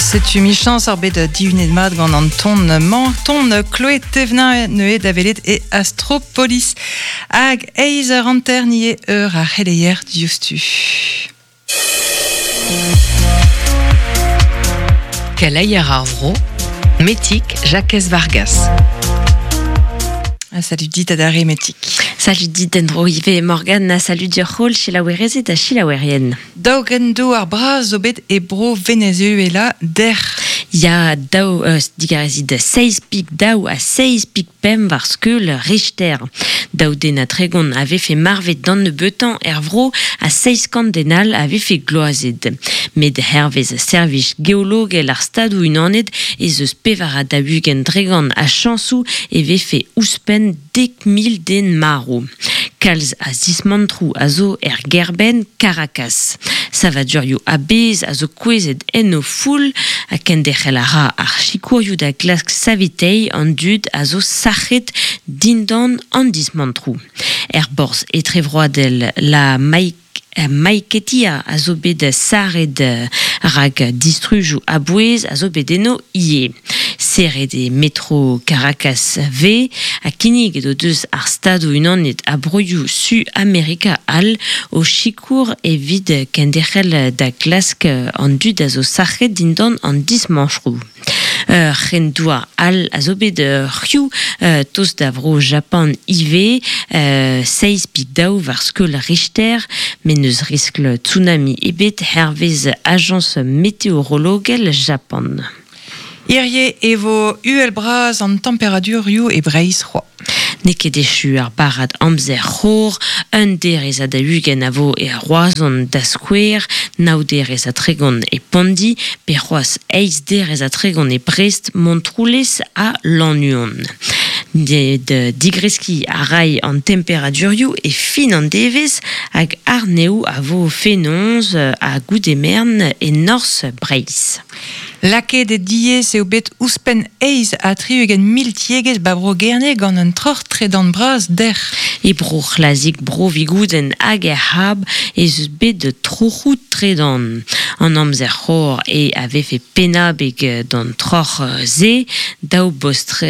Setu michañs ar bet dihunet mat gant an ton-mañ, ton Chloé Thévenin neuze da welet e Astropolis. Hag eizh eur hanter nie eur ar c'heleier diouzhtu. Keleier ar vro, Metig Jakez Vargas. Ah, salut dit adarre Metig. Salut dit en-dro ivez Morgane, na salut dioc'h holl selaouerezed ha selaouerien. Daou grenn-douar bras zo bet e bro Venezuela dec'h. Ya, daou, euh, digarezit, seizh pik daou ha seizh pik pemp war skeul Richter. Daou den ha tregont a vefe marvet d'an nebeutañ er vro ha seizh kant den all a vefe gloazet. Met hervez servij geologel ar Stadoù-Unanet ez eus pevar ha daou-ugent dregant a chañsoù e vefe ouzhpenn 10,000 den marv. Kalz a zismantroù a zo er gêrbenn Caracas. Savadurioù a-bezh a zo kouezhet en o foull ha kenderc'hel a ra ar sikourioù da glask saveteiñ an dud a zo sac'het dindan an dismantroù. Er borzh etrevroadel La Maiquetía a zo bet sarret rak distrujoù a-bouez a zo bet eno ivez. Serret eo metro Caracas V ha kinniget o deus ar Stadoù-Unanet ha broioù Su Amerika all o sikour evit kenderc'hel da glask an dud a zo sac'het dindan an dismañchoù. Ur c'hren-douar all a zo bet c'hiv tost da vro Japan ivez, seizh pe daou war skeul Richter, met n'eus riskl tsunami ebet hervez ajañs meteorologel Japan. Hirie e vo uhel-bras an temperadurioù e Breizh c'hoazh. N'eo ket echu ar barrad amzer c'hor, un derez ha daou-ugent a vo e Roazhon da skouer, nav derez ha tregont e Pondi, pe c'hoazh eizh derez ha tregont e Brest, Montroulez ha Lannuon. Met digreskiñ a ray an temperadurioù e fin an devezh hag arnev a vo fenoz ha goude-merenn e norzh Breizh. Lakaet e diaes eo bet ouzhpenn 68 mil tiegezh ba Bro-Gerne gant un troc'h tredan bras dec'h. E bro C'hlazig, bro Vigoudenn hag er C'hab ez eus bet troc'hoù tredan. An amzer c'hor eo a vefe pennabeg d'an troc'h-se. Daou bost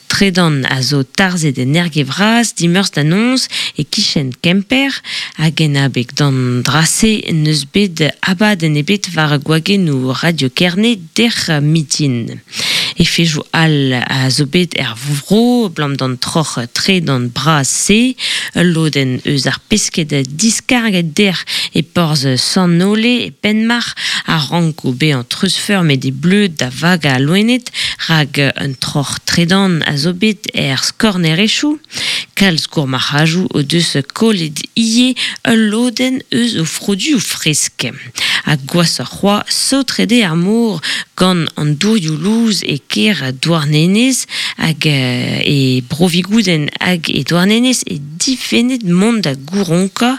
tredan a zo tarzhet en Erge-Vras dimeurzh da noz e-kichen Kemper. Hag en abeg d'an dra-se n'eus bet abadenn ebet war gwagennoù Radio Kerne dec'h mitin. Efejoù all a zo bet er vro abalamour d'an troc'h tredan bras-se. Ul lodenn eus ar pesked diskarget dec'h e porzh Sant-Nole e Penmarc'h a ranko bezañ treuzfeurmet e bleud da vagañ al loened rak un troc'h tredan a zo bet er skornerezhioù. Kalz gourmarc'hajoù o deus kollet ivez ul lodenn eus o froduioù fresk. Ha gwashoc'h c'hoazh, saotret eo ar mor gant an dourioù lous e kêr Douarnenez hag e Bro-Vigoudenn hag e Douarnenez e difennet mont da gouronkañ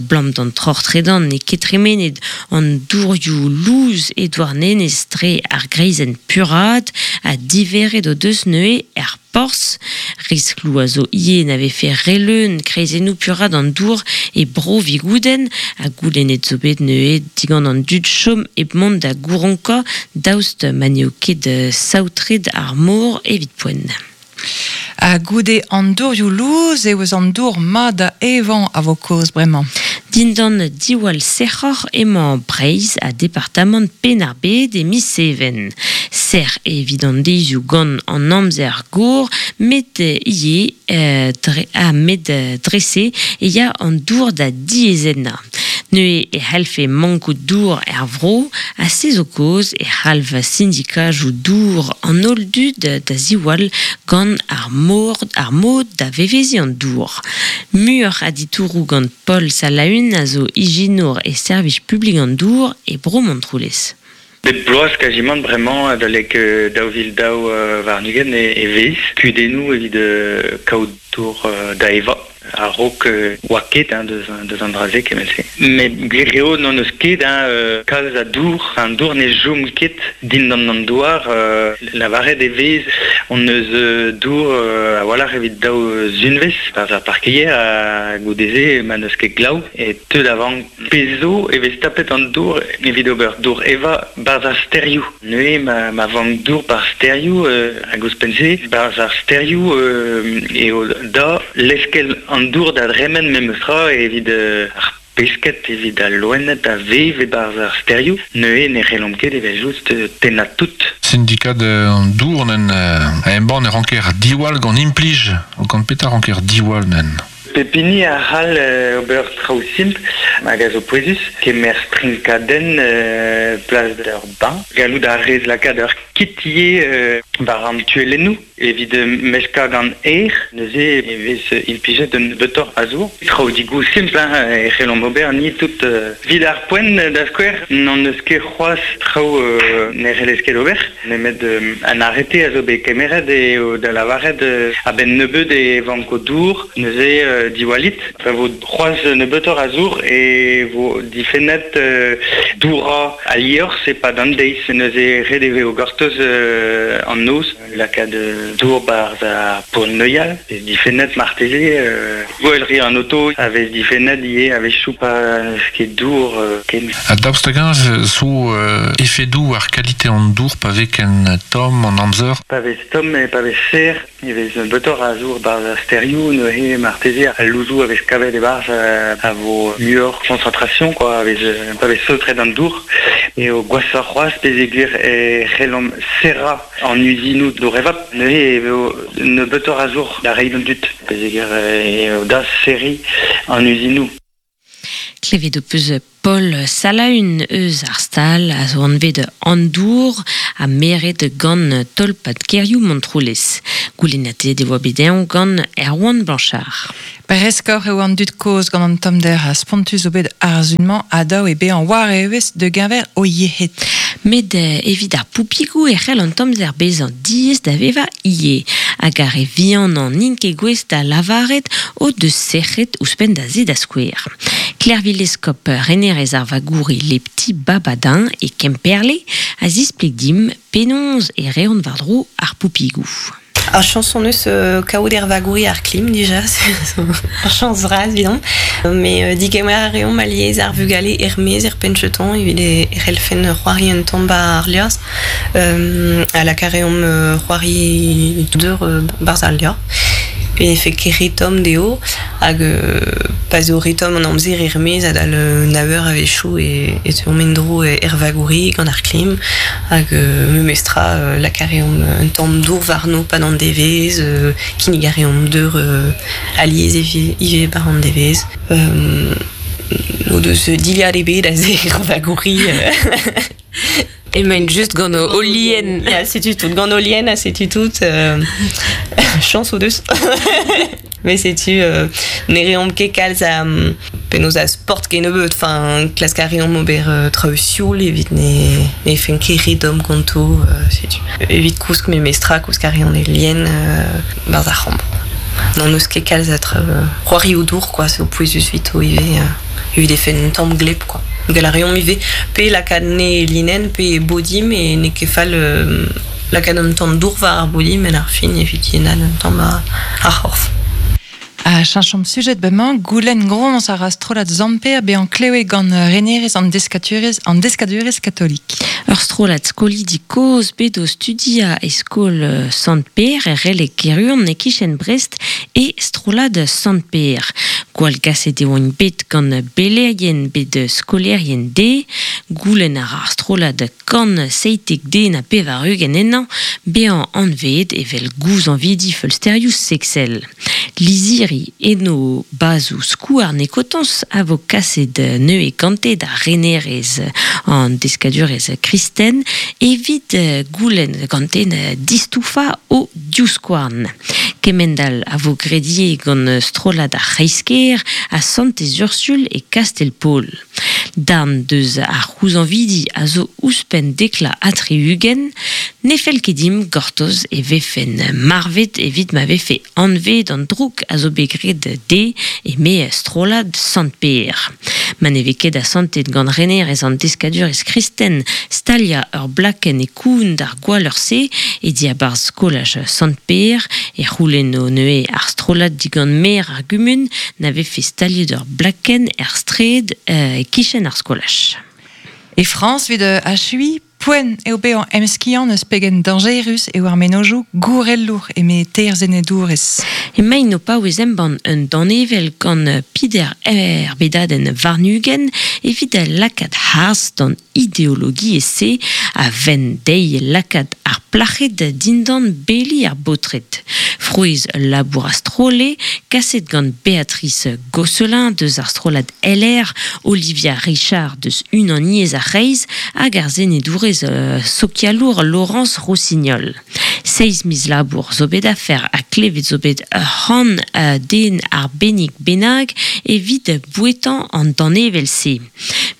'blam d'an troc'h tredan n'eo ket tremenet an dourioù lous e Douarnenez dre ar greizenn puraat ha diveret o deus neuze er porzh. Riskloù a zo ivez na vefe re leun kreizennoù puraat an dour e Bro-Vigoudenn ha goulennet zo bet neuze digant an dud chom hep mont da gouronkañ daoust ma n'eo ket saotret ar mor evit poent. Ha goude an dourioù lous eo eus an dour mat da evañ a vo kaoz bremañ. Dindan diwall sec'hoc'h emañ Breizh ha departamant Penn-ar-Bed e miz Even. Sec'h evit an deizioù gant an amzer gor, met ivez dre, ha met dre-se e ya an dour da diaezennañ. Neuze e c'hellfe mankout dour er vro, ha se zo kaoz e c'halv sindikajoù dour an holl dud da ziwall gant ar mor, ar mod da veveziñ an dour. Muioc'h a ditouroù gant Paul Salaün a zo ijinour e servij publik an dour e Bro Montroulez. Bep bloaz kazimant bremañ adalek 2022 e vez kudennoù evit kaout dour da evañ. A-raok oa ket hein, deus an dra-se kement-se. Met gwir eo n'hon eus ket hein, kalz a dour, an dour ne chom ket dindan an douar, lavaret e vez hon eus dour a-walc'h evit daou zunvezh, barzh ar parkeier ha goude-se ma n'eus ket glav e teu da vank. Pezh zo e vez tapet an dour evit ober dour evañ barzh ar stêrioù. Neuze ma vank dour barzh stêrioù hag ouzhpenn-se barzh ar stêrioù eo da leskel an dour da dremen memes tra evit ar pesked, evit al loened a vev e-barzh ar stêrioù. Neuze ne c'hellomp ket evel-just tennañ tout. Sindikad an dour nen a embann e ranker diwall gant implij, gant petra ranker diwall nen? Pep hini a c'hall ober traoù simpl hag a zo pouezus, kemer strinkadenn plas d'ur bañ, gallout a rez lakaat ur kit ivez war an tuellennoù evit meskañ gant aer, neuze e vez implijet un nebeutoc'h a zour. Traoù digoù simpl hein, e c'hellomp ober ni tout. Evit ar poent, da skouer, n'hon eus ket c'hoazh traoù ne c'hellez ket ober, nemet an arete a zo bet kemeret eo da lavaret a-benn nebeut e vanko dour, neuze diwallit. Pa vo c'hoazh nebeutoc'h a zour e vo difennet dourañ al liorzh e-pad an deiz, neuze ret e vezo gortoz an noz, lakaat dour 'barzh ar pod-neuial, vez difennet marteze, gwell an oto a vez difennet ivez a-wechoù pa n'eus ket dour ken. Ha daoust hag-eñ zo efedoù war kalite an dour pa vez ken tomm an amzer? Pa vez tomm e pa vez serr e vez nebeutoc'h a zour 'barzh ar stêrioù, neuze marteze al louzoù a vez kavet e-barzh a vo muioc'h concentration quoi, a vez pa vez saotret an dour. Eo gwashoc'h c'hoazh peogwir e c'hellomp serrañ an uzinoù dour-evap, neuze e vo nebeutoc'h a zour da reiñ d'an dud peogwir eo da serriñ an uzinoù. Klevet ho peus Paul Salaun eus ar stal a zo anvet An Dour ha meret gant tolpad kêrioù Montroulez. Goulennatet e oa bet eñ gant Erwan Blanchard. Breskoc'h eo an dud kozh gant an tommder ha spontus zo bet ar sun-mañ ha dav eo bezañ war evezh da geñver o yec'hed. Met evit ar poupigoù e c'hell an tommder bezañ diaes da vevañ ivez. Hag ar re vihanañ n'int ket gouest da lavaret o deus sec'hed ouzhpenn da se da skouer. Klervi Lescop, renerez ar vagouri Les Petits Babadins e Kemperle, a zispleg dimp penaos e reont war-dro ar poupigoù. Ar chañs hon eus kaout er vagouri ar klim dija, ur chañs vras evidomp. Mais digemer a reomp alies ar vugale er-maez er penn-cheton evit e c'hellfen c'hoari un tamm 'ba ar liorzh. Ha lakaat a reomp c'hoari deur 'barzh al liorzh. E vefe ket re tomm dezho hag pa 'z eo re tomm an amzer er-maez adal nav eur a-wechoù e teuomp en-dro er vagouri gant ar klim. Hag memestra lakaat a reomp un tamm dour warno 'pad an devezh, kinnig a reomp deur alies ivez 'bar an devezh. O deus dilhad ebet aze er vagouri. Emaint just gant o lien. Ya, setu tout. Gant o lien ha setu tout. Chañs o deus. Mais setu ne reomp ket kalz a penaos a sport kennebeut. Enfin, klask a reomp ober traoù sioul evit ne ne fen ket re domm ganto. Setu. Evit kousk memestra, kousk a reont e lien 'barzh ar c'hambr. N'hon eus ket kalz a traoù c'hoarioù dour quoi, c'est pouezus evito ivez evit e fen un tamm gleb quoi. Gall a reomp ivez pe lakaat ne e linenn pe e body met n'eo ket fall lakaat un tamm dour war ar body met ar fin evit yennaat un tamm ar c'horf. Ha cheñchomp sujet bremañ, goulenn groñs a ra strollad Zamper bezañ klevet gant renerez an deskadurezh an deskadurezh katolik. Ur strollad skolidi kozh bet o studiañ e skol Sant-Pêr er Releg Keruon e-kichen Brest e strollad Sant-Pêr. Gwallgaset e oant bet gant belerien bet skolaerien dezhe. Goulenn a ra ar strollad 197 ennañ bezañ anveet evel gouzañvidi feulsterioù seksel. Lizhiri eno bazoù skouarn e kotoñs a vo kaset neuze gante da renerez an deskadurezh kristen evit goulenn gante distoufañ o divskouarn. Kemend-all a vo graet ivez gant strollad ar C'hreiz-kêr ha Santez-Ursul e Kastell-Paol. Darn deus ar c'houzañvidi a zo ouzhpenn dekla ha 60, ne fell ket dimp gortoz e vefen marvet evit ma vefe anvet an droug a zo bet graet dezhe eme strollad Sant-Pêr. Ma ne vez ket asantet gant renerez an deskadurezh kristen staliañ ur blakenn e koun d'ar gwalleur-se e diabarzh skolaj Sant-Pêr e c'houlenno neuze ar strollad digant maer ar gumun na vefe staliet ur blakenn er straed e-kichen ar skolaj. E Frañs evit achuiñ, poent eo bezañ emskiant eus pegen dañjerus eo ar mennozhioù gourelour eme teir senedourez. Emaint o paouez embann un danevell gant peder erbedadenn warn-ugent evit lakaat harz d'an ideologiezh-se a venn dezhi lakaat ar plac'hed dindan beli ar baotred. Frouezh ul labour a-stroll eo, kaset gant Béatrice Gosselin deus ar strollad LR, Olivia Richard deus Unaniezh ar C'hreiz hag ar senedourez sokialour Laurence Rossignol. Seizh miz labour zo bet afer ha klevet zo bet ur c'hant den arbennik bennak evit bouetañ an danevell-se.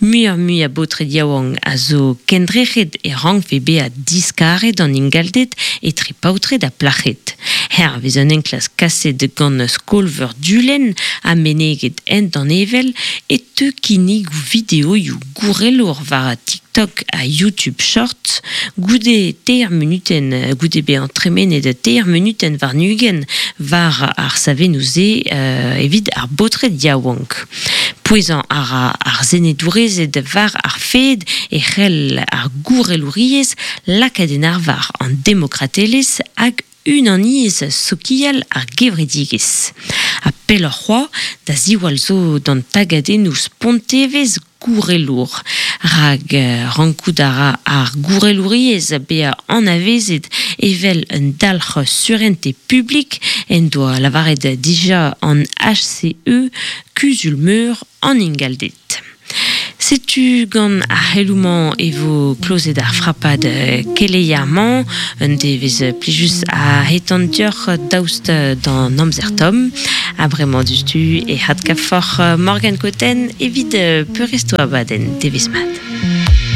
Muioc'h-mui a baotred yaouank a zo kendrec'het e rankfe bezañ diskaret an ingalded etre paotred ha plac'hed. Hervez un enklask kaset gant Skol-veur Dulenn ha meneget en danevell e teu kinnigoù videoioù gourelour war TikTok ha YouTube Shorts goude teir munutenn goude bezañ tremenet teir munutenn warn-ugent war ar savennoù-se evit ar baotred yaouank. Pouezañ a ra ar senedourezed war ar fed e c'hell ar gourelouriezh lakaat en arvar an demokratelezh hag unaniezh sokial ar gevredigezh. Ha pelloc'h c'hoazh, da ziwall zo d'an tagadennoù spontevezh gourelour. Rak rankout a ra ar gourelouriezh bezañ anavezet evel un dalc'h surentez publik en doa lavaret dija an HCE, Kuzul-meur an ingalded. Setu gant ar c'heloù-mañ e vo klozet ar frapad keleier-mañ. Un devezh plijus a hetan deoc'h daoust d'an amzer tomm. Ha bremañ diouzhtu e adkavfoc'h Morgane Cotten evit peurrest ho abadenn. Devezh mat.